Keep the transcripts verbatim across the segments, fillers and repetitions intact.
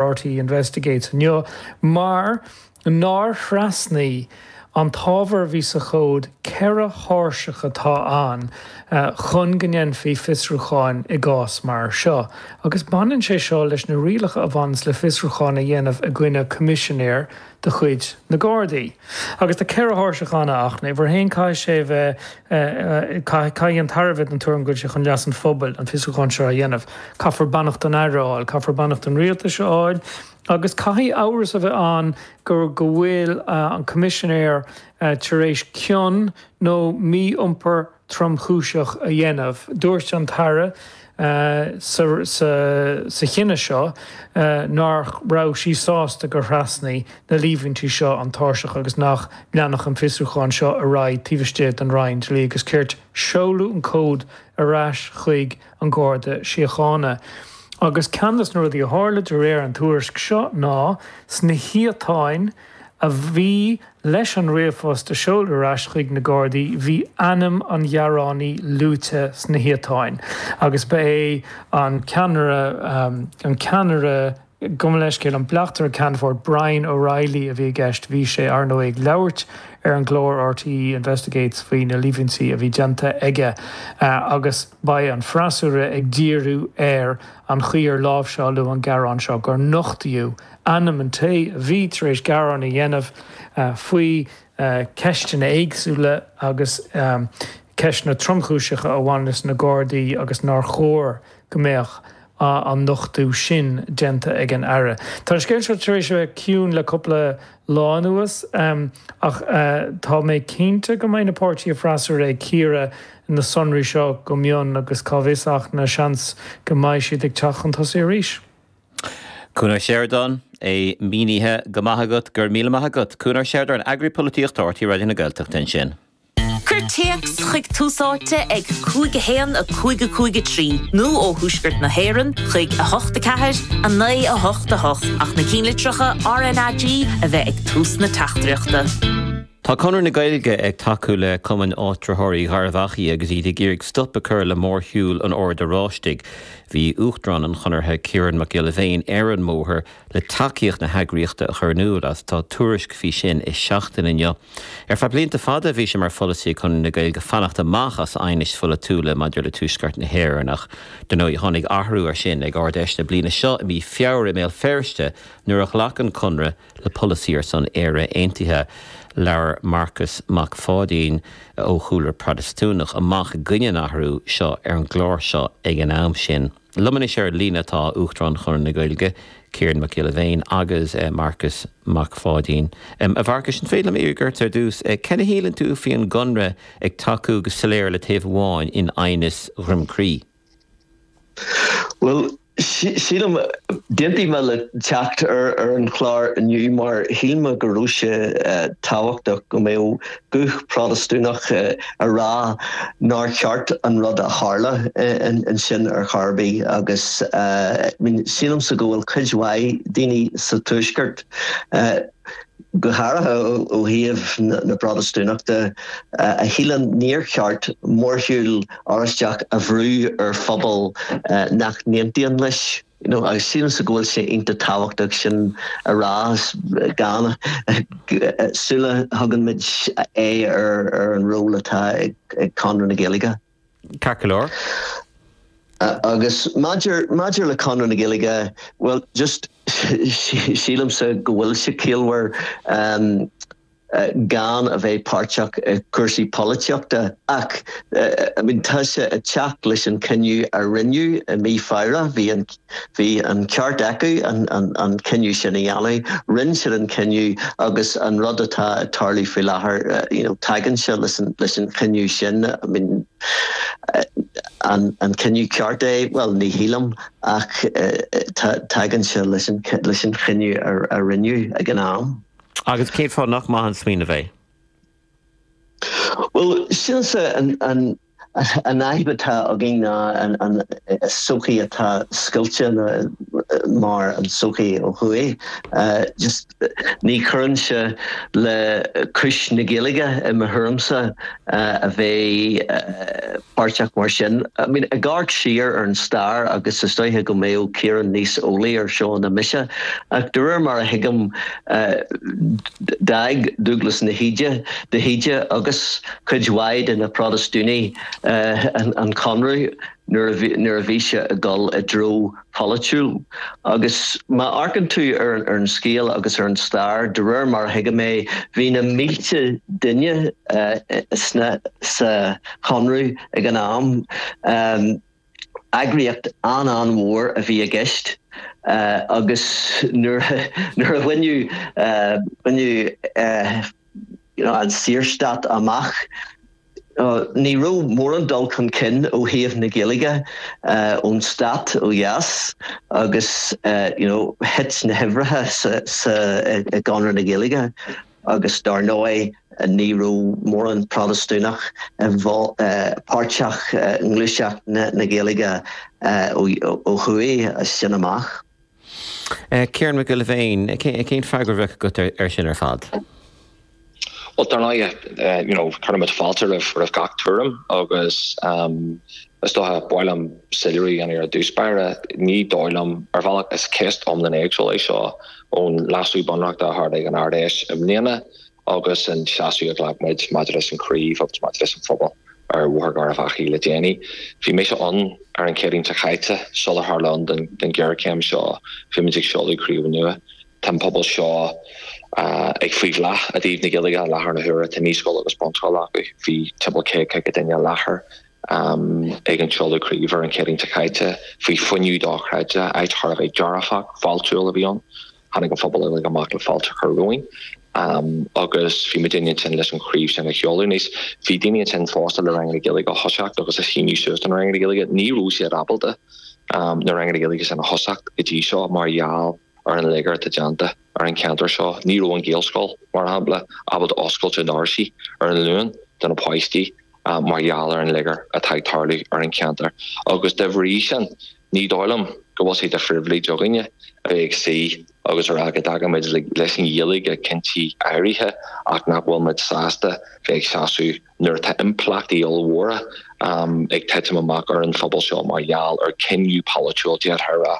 R T E Investigates inniu mar nár thrasnaigh an t-ábhar a bhí sa chomhad ceithre thairseach atá ann chun go ndéanfaí fiosrúcháin i gcás mar seo. Agus baineann sé seo leis na rialacha a bhaineanns le fiosrúcháin a dhéanamh i gcoinne coimisinéir de chuid na Gardaí. Agus tá ceithre thairseach ann ach uimhir a haon, caithfidh sé bheith, caithfidh an tAire bheith den tuairim go bhfuil sé chun leas an phobail an fiosrúchán seo a dhéanamh. Caithfear beannacht an Aire a fháil, caithfear beannacht an Rialtais a fháil, agus caithfidh amhras a bheith ann go go bhfuil an coimisinéir tar éis cion nó mí-iompar tromchúiseach a dhéanamh. Dúirt an tAire sa sa chinneadh seo nach raibh sí sásta gur thrasnaigh na líomhaintí seo an tairseach agus nach leanfadh an fiosrúchán seo ar aghaidh taobh istigh den Roinn Dlí agus Cirt. Seoladh an comhad ar ais chuig an Garda Síochána. Agus ceann de na rudaí a tharla de réir an tuairisc seo ná sna hiatáin a bhí leis an ríomhphost a seoladh ar ais chuig na Gardaí, bhí ainm an ghearánaí luaite sna hiatáin agus ba é an ceannaire an ceannaire, gabh mo leithscéal, an bleachtaire Ceannfort Brian O'Reilly a bhí i gceist. Bhí sé, ar ndóigh, ag labhairt ar an gclár R T E Investigates faoi na líomhaintí a bhí déanta aige agus beidh an freasúra ag díriú ar an chaoi ar láimhseáladh an gearán seo, gur nochtaíodh ainm an té a bhí tar éis gearán a dhéanamh faoi ceisteanna éagsúla agus ceisteanna tromchúiseacha a bhain leis na Gardaí agus nár chóir go mbeadh an nochtadh sin déanta ag an Aire. Tá an scéal seo tar éis a bheith ciúin le cúpla lá anuas ach tá mé cinnte go mbeidh na páirtithe freasúra ag cíoradh na sonraí seo go mion agus cá bhfios ach na seans go mbeidh siad ag teacht chun tosaigh arís. Cuan Ó Seireadáin, é mínithe go maith agat, go raibh míle maith agat. Cuan Ó Seireadáin, eagraí polaitíochta R T É Raidió na Gaeltachta ansin. Cuir téacs chuig Tús Áite ag cúig a haon a cúig a cúig a trí nó ó Thuaisceart na hÉireann chuig a hocht a ceathair a naoi a hocht a hocht ach na cinnlitreacha R N A G a bheith ag tús na teachtaireachta. Tá Conradh na Gaeilge ag tacú le Cumann Áitritheoirí Gharbh Achaidh agus iad ag iarraidh stop a chur le mórshiúl an Ord Oráistigh. Bhí Uachtarán an Chonartha, Ciarán Mac Giolla Bhéin, ar an mbóthar le tacaíocht na heagraíochta a chur in iúl agus tá tuairisc faoi sin i Seachtain inniu. Ar feadh blianta fada bhí sé mar pholasaí Chonradh na Gaeilge fanacht amach as aighnis pholaitiúla maidir le Tuaisceart na hÉireann, ach dar ndóigh tháinig athrú ar sin ag Ard-Fheis na bliana seo i mí Feabhra i mBéal Feirste nuair a ghlac an Conradh le polasaí ar son Éire Aontaithe. Labhair Marcas Mac Pháidín ó chúlra Protastúnach amach i gcoinne an athrú seo ar an gclár seo ag an am sin. Liom anois ar líne tá Uachtarán Chonradh na Gaeilge, Ciarán Mac Giolla Bhéin, agus eh, Marcas Mac Pháidín. Um, a Mharcais, an féidir liom iarraidh ar dtús, eh, cén a shíleann tú faoin gConradh ag tacú go soiléir le taobh amháin in aighneas Dhroim Crí? Well, sílim, d'aontaigh mé le teacht ar ar an chlár inniu mar shíl mé go raibh sé tábhachtach go mbeadh guth Protastúnach a rá nár cheart an rud a tharla ansin ar chor ar bith. Agus sílimse go bhfuil cuid mhaith daoine sa Tuaisceart, go háirithe ó thaobh na Protastúnachta, a shíleann níor cheart mórshiúl Oráisteach a bhrú ar phobal nach n-aontaíonn leis. You know, agus sílimse go bhfuil sé iontach tábhachtach sin a rá gan sula thugann muid é ar ar an ról atá ag ag Conradh na Gaeilge. Ceart go leor. Agus maidir maidir le Conradh na Gaeilge, well, just sílimse go bhfuil sé ciallmhar um, gan a bheith páirteach i cúrsaí polaitíochta, ach I mean, tá sé ag teacht leis an cinneadh a rinneadh i mí Feabhra. bhí an bhí an ceart acu an, an, an cinneadh sin a dhéanamh. Rinne siad an cinneadh agus an rud atá ag tarlú faoi láthair, you know, tagann sé leis an, leis an cinneadh sin. I mean, an, an cinneadh ceart é? Well, ní shílim, ach tagann sé leis an, leis an chinneadh a, a rinneadh ag an am. Agus cén fáth nach maith an smaoineamh é? Well, sílimse an, an, an fhadhb atá againn ná an, an sochaí atá scoilte. mar an sochaí ó thuaidh. Just ní chuireann sé le cúis na Gaeilge i mo thuairimse a bheith páirteach mar sin. I mean, ag amharc siar ar an stair agus is dóiche go mbeadh Ciarán níos eolaí ar seo ná mise, ach de réir mar a thuigim d'fhág Dúglas na hÍde de hÍde agus cuid mhaith de na Protastúnaigh an Conradh nuair a bhí sé ag dul i dtreo polaitiúil. Agus má amharcann tú ar ar an scéal agus ar an stair, de réir mar a thuigim é, bhí na mílte duine sna sa Chonradh ag an am. Eagraíocht an-an-mhór a bhí i gceist agus nuair nuair a bhaineadh baineadh you know, an Saorstát amach, ní raibh mórán dul chun cinn ó thaobh na Gaeilge ón stát ó dheas agus you know, thit na huimhreacha sa, sa, i gConradh na Gaeilge agus dar ndóigh ní raibh mórán Protastúnach páirteach i ngluaiseacht na, na Gaeilge ó thuaidh as sin amach. Ciarán Mac Giolla Bhéin, cén freagra a bheadh agat ar sin ar fad? Well dar ndóigh you know, cuirimid fáilte roimh roimh gach tuairim agus um, is dócha ba mhaith liom soiléiriú a dhéanamh ar dtús báire ní dóigh liom ar bhealach is ceist iomlán éagsúil é seo ón leasú bunreachta a tharla ag an Ard-Fheis i mbliana agus an seasamh a ghlac muid maidir leis an chraobh agus maidir leis an phobal ar Bhóthar Gharbh Achaidh le déanaí. Bhí mise ann ar an Chéadaoin seo caite sular tharla an den, den ghéarchéim seo bhí muid ag seoladh craobh nua. Tá an pobal seo ag faoi bhláth i dtaobh na Gaeilge i láthair na huaire tá naíscoil agus bunscoil acu bhí timpeall céad caoga duine i láthair ag an seoladh craoibhe ar an Chéadaoin seo caite faoi fuinneamh dochreidte áit thar a bheith dearfach fáiltiúil a bhí ann. Tháinig an phobal uilig amach le fáilte a chur romhainn. Um, agus bhí muid ansin leis an chraobh sin a sheoladh níos. Bhí daoine ansin fosta le ranganna Gaeilge a thosacht agus a shíniú suas don ranganna Gaeilge ní raibh siad ábalta um, na ranganna Gaeilge sin a thosacht go dtí seo mar gheall ar an léigear atá déanta ar an cheantar seo. Ní raibh an Ghaelscoil mar shampla ábalta oscailt a ndoirse ar an Luan do na páistí um, mar gheall ar an léigear atá ag tarlú ar an cheantar. Agus de bhrí sin ní dóigh liom go bhfuil sé de phribhléid againne a bheith ag suí agus a rá go dtacaímid leis an Ghaeilge i gcinntí áirithe ach nach bhfuil muid sásta bheith ag seasamh nuair atá impleachtaí ollmhóra um, ag titim amach ar an phobal seo mar gheall ar cinneadh polaitiúil d'fhéadfá a rá.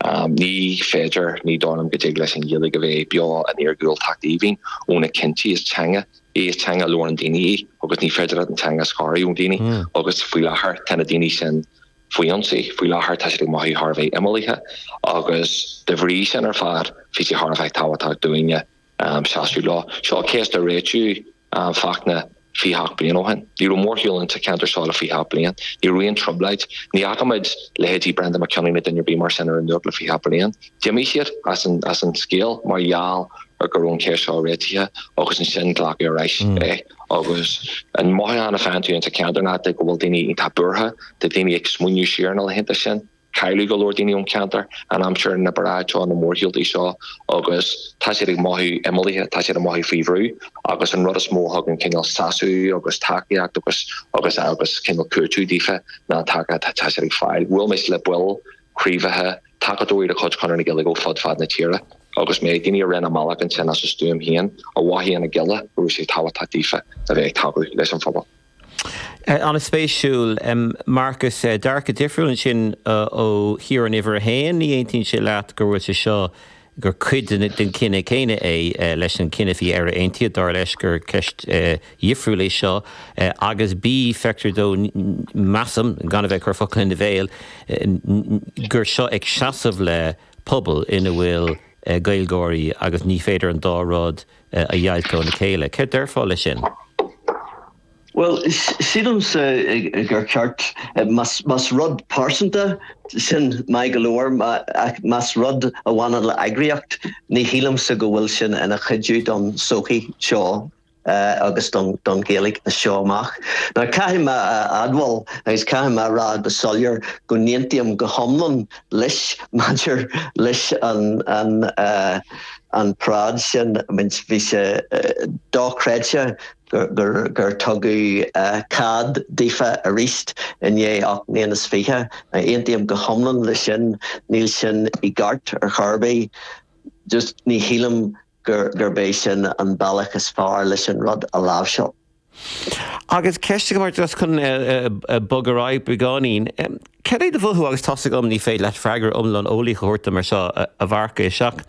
Um, ní féidir ní dóigh liom go dtig leis an Ghaeilge a bheith beo in iargúltacht aoibhinn ó na cinntí is teanga í is teanga labhrann daoine í agus ní féidir an teanga a scaradh ó daoine mm. agus faoi láthair tá na daoine sin faoi ionsaí faoi láthair tá siad ag mothú thar a bheith imeallaithe agus de bhrí sin ar fad bhí sé thar a bheith tábhachtach dúinne um, seasamh leo. Seo ceist a réitíodh um, Fachtna fiche bliain ó shin. Ní raibh mórshiúl insa cheantar seo le fiche bliain, Ní raibh aon trioblóid, ní fhaca muid leithéidí Brendan McKinley na duine bí mar sin ar an nuacht le fiche bliain. D'imigh siad as an, as an scéal mar gheall ar go raibh an ceist seo réitithe agus ansin glacadh arís mm. é. agus an mothúchán a fhaigheann tú insa cheantar ná go bhfuil daoine iontach buartha, tá daoine ag smaoineamh siar na laethanta sin. Cailleadh go leor daoine ón cheantar an aimsir na paráid seo na mórshiúltaí seo agus tá siad ag mothú imeallaithe, tá siad ag mothú faoi bhrú agus an rud is mó a thugann cineál sásamh agus tacaíocht agus agus agus cineál cúiteamh daofa ná an tacaíocht atá siad ag fáil. Bhuail mé le baill craobhacha tacadóirí de chuid Chonradh na Gaeilge ó fud fad na tíre agus mé daoine a rinne a mbealach ansin as a stuaim féin a mhothaigh ina gcille go raibh sé tábhachtach daofa a bheith ag tacú leis an phobal. An-spéisiúil Marcus dearcadh difriúil ansin ó Chiarán uimhir a haon ní aontaíonn sé leat go bhfuil sé seo gur cuid den cinneadh céanna é leis an cinneadh faoi Éire Aontaithe dar leis gur ceist dhifriúil é seo agus B feictear dó measaim gan a bheith ag cur focal ina bhéal gur seo ag seasamh le pobal ina bhfuil Gaeilgeoirí agus ní féidir an dá rud a dheighilt óna chéile. Céard déarfá leis sin? Well, sílimse gur ceart más rud pearsanta sin maith go leor más rud a bhaineann le eagraíocht, ní shílimse go bhfuil sin ina chuidiú don sochaí seo. agus don don Ghaeilge seo amach. Now caithfidh mé a admháil agus caithfidh mé rá go soiléir go n-aontaím go hiomlán leis maidir leis an an uh, an paráid sin bhí sé uh, dochreidte gur gur tugadh cead daofa arís i ndiaidh ocht mbliana is fiche. Aontaím go hiomlán leis sin, níl sin i gceart ar chor ar bith. Just ní shílim gur gurb é sin an bealach is fearr leis an rud a láimhseáil. Agus ceist mar just chun bogadh ar aghaidh beagáinín. Cad é do mhothú agus tá a fhios agam ní féidir leat freagra iomlán eolaíoch a thabhairt mar seo a Mharcais ach